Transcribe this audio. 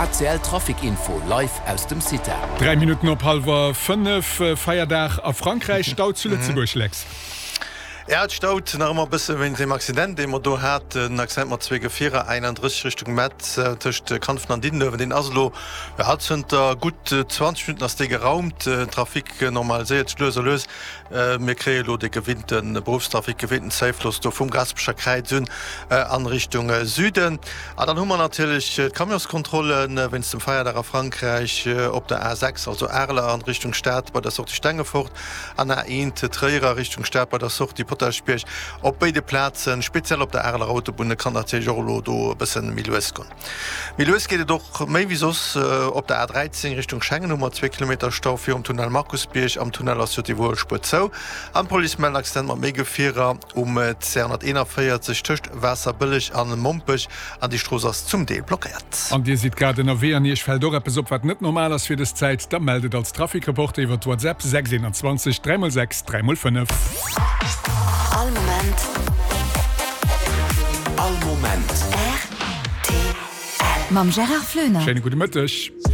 ACL Trafic Info live aus dem CITA. 3 Minutten op hallwer 5, Feierdag a Frankräich, Stau zu Lëtzebuerg, Lex. Ja, et staut nach ëmmer e bësse wéinst deem Accident, dee mer do haten. En Accident mat zwee Gefierer, 31 Richtung Metz, tëscht Kanfen an Diddenuewen. Deen ass elo, ja, zënter gutt 20 Minutten ass dee geraumt. Den Trafic normaliséiert sech lues a lues. Mir kréie elo de gewinnte Beruffstrafic, gewinnten Zäifloss do vum Gaasperecher Kräiz un an Richtung Süden. A dann hu mer natierlech d'Camionskontrolle wéinst dem Feierdag a Frankräich op der A6, also Areler an Richtung Stad bei der Sortie Stengefort. An A1 Tréier a Richtung Stad bei der Sortie Potaschbierg op béide Plazen, speziell op der Areler Autobunn. Et kann natierlech och elo do e bëssen méi lues goen. Méi lues geet et och méi wéi soss op der A13 Richtung Schengen hu mer zwee Kilometer Stau virum Tunnel Markusbierg. Am Tunnel ass jo d'Iwwerhuelspuer zou an d'Police mellt en Accident mat méi Gefierer um 241 tëscht Waasserbëlleg an Mompech an déi Strooss ass zum Deel blockéiert. An Dir sidd grad ënnerwee an Iech fält och eppes op, wat net normal ass fir dës Zäit? Da mellt et als Trafikreporter iwwer d'WhatsApp 6 21 3 x 6 3 x 5. All Moment. All Moment. Rtl. Mam Gérard Floener. Schéine gudde Mëtteg.